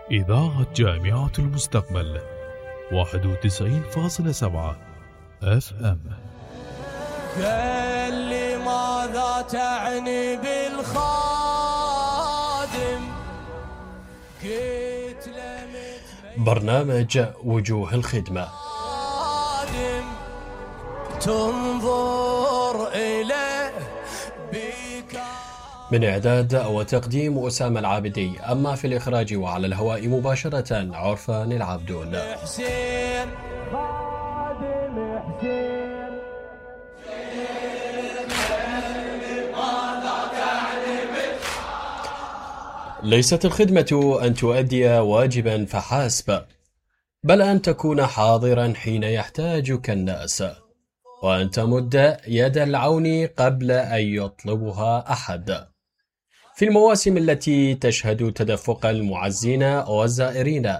إذاعة جامعة المستقبل 91.7 FM. قال لي ماذا تعني بالخادم؟ قلت له برنامج وجوه الخدمة تنظر إليه من إعداد وتقديم أسامة العابدي، أما في الإخراج وعلى الهواء مباشرة عرفان العبدون. حسين خادم حسين ليست الخدمة أن تؤدي واجبا فحسب، بل أن تكون حاضرا حين يحتاجك الناس، وأن تمد يد العون قبل أن يطلبها أحد. في المواسم التي تشهد تدفق المعزين والزائرين،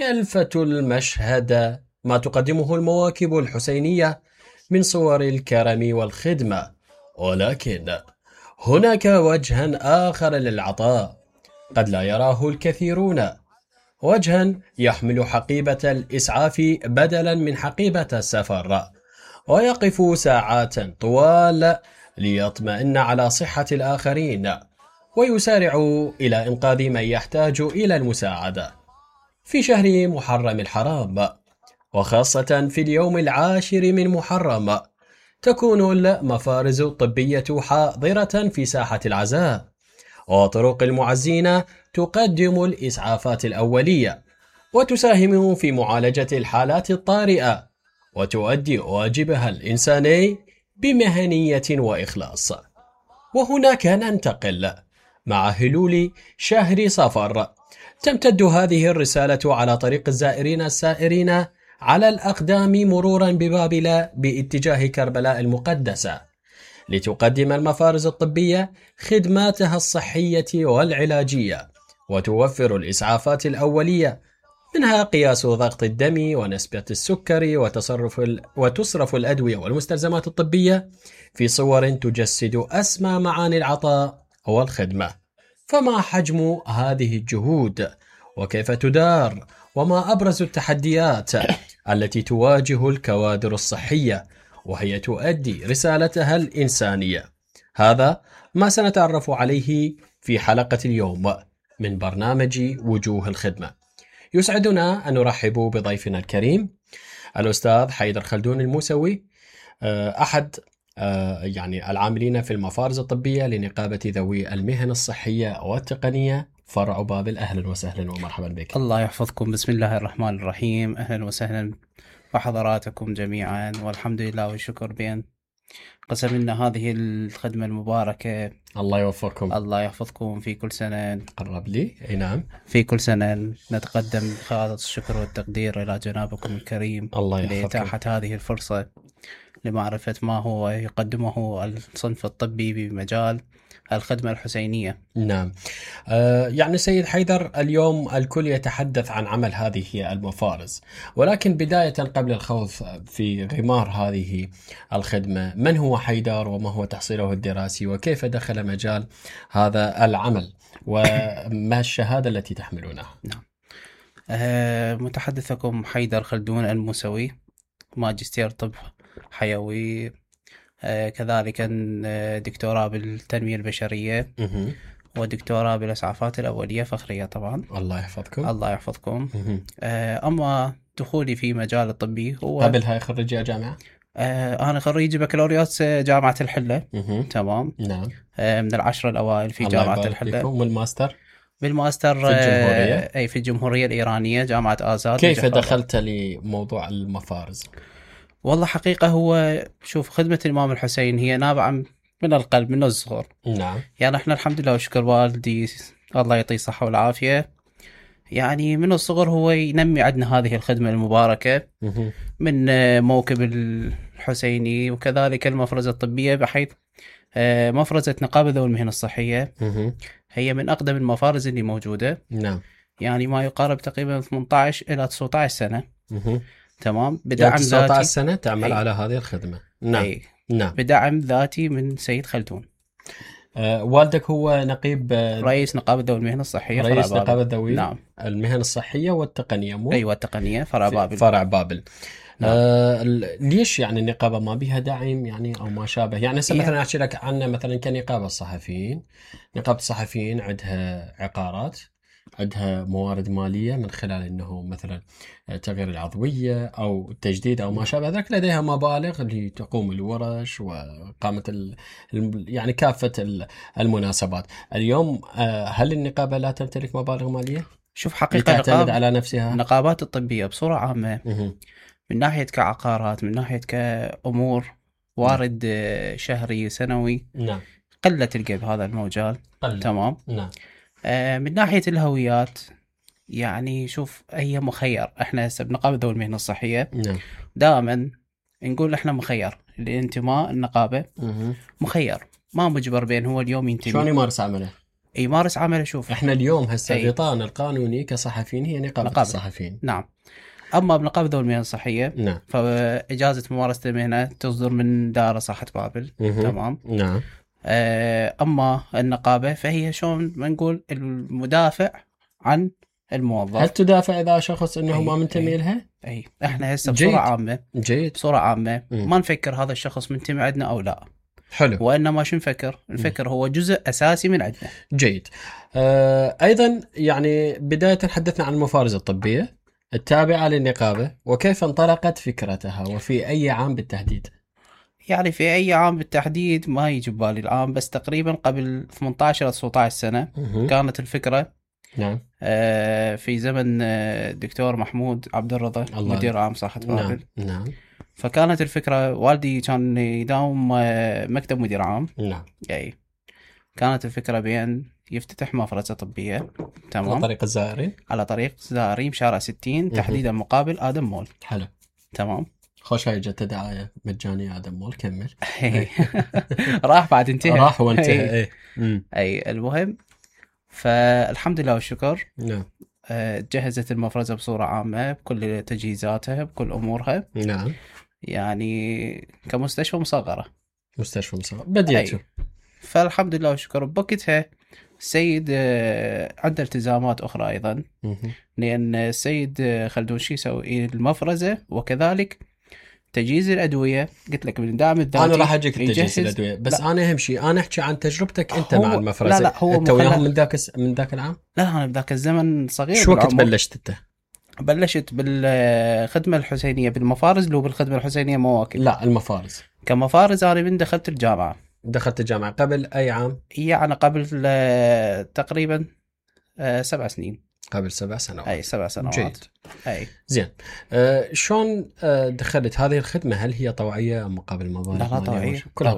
يلفت المشهد ما تقدمه المواكب الحسينية من صور الكرم والخدمة، ولكن هناك وجها آخر للعطاء قد لا يراه الكثيرون، وجها يحمل حقيبة الإسعاف بدلا من حقيبة السفر، ويقف ساعات طوال ليطمئن على صحة الآخرين، ويسارع إلى إنقاذ من يحتاج إلى المساعدة. في شهر محرم الحرام، وخاصة في اليوم 10 من محرم، تكون المفارز الطبية حاضرة في ساحة العزاء، وطرق المعزين تقدم الإسعافات الأولية، وتساهم في معالجة الحالات الطارئة، وتؤدي واجبها الإنساني بمهنية وإخلاص. وهناك ننتقل مع هلول شهر صفر، تمتد هذه الرسالة على طريق الزائرين السائرين على الأقدام مرورا ببابل باتجاه كربلاء المقدسة، لتقدم المفارز الطبية خدماتها الصحية والعلاجية، وتوفر الإسعافات الأولية، منها قياس ضغط الدم ونسبة السكري، وتصرف الأدوية والمستلزمات الطبية في صور تجسد أسمى معاني العطاء والخدمة. فما حجم هذه الجهود؟ وكيف تدار؟ وما أبرز التحديات التي تواجه الكوادر الصحية وهي تؤدي رسالتها الإنسانية؟ هذا ما سنتعرف عليه في حلقة اليوم من برنامج وجوه الخدمة. يسعدنا أن نرحب بضيفنا الكريم الأستاذ حيدر خلدون الموسوي، أحد العاملين في المفارز الطبية لنقابة ذوي المهن الصحية والتقنية فرع بابل. أهلا وسهلا ومرحبا بك. الله يحفظكم. بسم الله الرحمن الرحيم. أهلا وسهلا وحضراتكم جميعا، والحمد لله والشكر بأن قسم لنا هذه الخدمة المباركة. الله يوفقكم. الله يحفظكم. في كل سنة قرب لي. أي نعم. في كل سنة نتقدم بخالص الشكر والتقدير إلى جنابكم الكريم لإتاحة هذه الفرصة لمعرفة ما هو يقدمه الصنف الطبي بمجال الخدمة الحسينية. نعم. سيد حيدر، اليوم الكل يتحدث عن عمل هذه المفارز، ولكن بداية قبل الخوض في غمار هذه الخدمة، من هو حيدر وما هو تحصيله الدراسي وكيف دخل مجال هذا العمل وما الشهادة التي تحملونها؟ نعم. متحدثكم حيدر خلدون الموسوي، ماجستير طب حيوي، كذلك دكتوراه بالتنمية البشرية، ودكتوراه بالإسعافات الأولية فخرية طبعا. الله يحفظكم. الله يحفظكم. أما دخولي في مجال الطبي هو قبلها خريجة جامعة؟ أنا خريج بكالوريوس جامعة الحلة. تمام. نعم. من 10 الأوائل في جامعة الحلة. والماستر؟ بالماستر في الجمهورية؟ في الجمهورية الإيرانية جامعة آزاد. كيف دخلت لموضوع المفارز؟ والله حقيقة هو شوف، خدمة الإمام الحسين هي نابعة من القلب من الصغر. نعم. احنا الحمد لله وشكر والدي الله يعطيه الصحة والعافية، من الصغر هو ينمي عندنا هذه الخدمة المباركة من موكب الحسيني، وكذلك المفرزة الطبية، بحيث مفرزة نقابة ذوي المهن الصحية هي من أقدم المفارز اللي موجودة. نعم. ما يقارب تقريبا 18 إلى 19 سنة. تمام. بدعم 19 سنة تعمل على هذه الخدمة. نعم. نعم. بدعم ذاتي من سيد خلدون. والدك هو نقيب رئيس نقابة ذوي المهن الصحية فرع رئيس بابل. نقابة ذوي نعم. المهن الصحية والتقنية، مو؟ أيوة التقنية فرع بابل. فرع بابل. نعم. ليش يعني النقابة ما بيها داعم يعني أو ما شابه؟ يعني مثلا أحكي لك عنه مثلا كنقابة الصحفيين. نقابة الصحفيين عندها عقارات، عندها موارد مالية من خلال أنه مثلا تغيير العضوية أو التجديد أو ما شابه ذلك، لديها مبالغ لتقوم الورش وقامة يعني كافة المناسبات. اليوم هل النقابة لا تمتلك مبالغ مالية؟ شوف حقيقة تعتمد على نفسها؟ النقابات الطبية بصورة عامة من ناحية كعقارات، من ناحية كأمور وارد شهري سنوي، نعم، قلة تلقى بهذا المجال. تمام. نعم. من ناحية الهويات يعني شوف هي مخير. احنا هسه بنقابة ذوي المهنة الصحية نعم. دائما نقول احنا مخير، الانتماء النقابة مخير، ما مجبر بين هو اليوم ينتمي. شلون يمارس عمله؟ يمارس عمله. شوف احنا اليوم هسه غطاءنا القانوني كصحفيين هي نقابة الصحفيين. نعم. اما بنقابة ذوي المهن الصحية نعم، فاجازة ممارسة المهنة تصدر من دائرة صحة بابل. تمام. نعم. اما النقابة فهي شلون ما نقول المدافع عن الموظف. هل تدافع اذا شخص انه ما منتمي لها؟ اي احنا هسه بصورة عامة بصورة عامة ما نفكر هذا الشخص منتمي عندنا او لا. حلو. وانما شو نفكر هو جزء اساسي من عندنا. جيد. ايضا يعني بداية حدثنا عن المفارز الطبية التابعة للنقابة وكيف انطلقت فكرتها وفي اي عام بالتحديد؟ يعني في اي عام بالتحديد ما يجي ببالي العام، بس تقريبا قبل 18 أو 19 سنة كانت الفكرة. نعم. في زمن الدكتور محمود عبد الرضا مدير عام صحة بابل. نعم. فكانت الفكرة والدي كان يداوم مكتب مدير عام. نعم. يعني كانت الفكرة بأن يفتتح مفرزة طبية. تمام. على طريق الزائرين. على طريق الزائرين بشارع 60 تحديدا مقابل آدم مول. حلو. تمام. خوش هاي جت دعاية مجانية آدم مول. كمل. راح بعد انتهى. راح وانتهى. اي المهم فالحمد لله والشكر. نعم. جهزت المفرزة بصورة عامة بكل تجهيزاتها بكل أمورها. نعم. يعني كمستشفى مصغرة. مستشفى مصغرة بديته. فالحمد لله والشكر بوقتها السيد عنده التزامات أخرى أيضا، لأن السيد خلدون شي يسوي المفرزة وكذلك تجهيز الأدوية. قلت لك من دعم الذاتي. أنا راح أجيك تجهيز الأدوية، بس لا. أنا أهم شيء أنا أحكي عن تجربتك أنت مع المفرزة. لا هو أنت وياهم من ذاك العام؟ لا أنا بذاك الزمن صغير. شو وقت بلشت أنت؟ بلشت بالخدمة الحسينية بالمفارز، لو بالخدمة الحسينية مواكب. لا المفارز. كمفارز أنا من دخلت الجامعة. دخلت الجامعة قبل أي عام؟ يعني قبل تقريبا 7 سنين. قبل 7 سنوات. أي 7 سنوات. جيد. أي زين. شلون دخلت هذه الخدمة؟ هل هي طوعية أم مقابل مبالغ؟ لا طوعية. كلها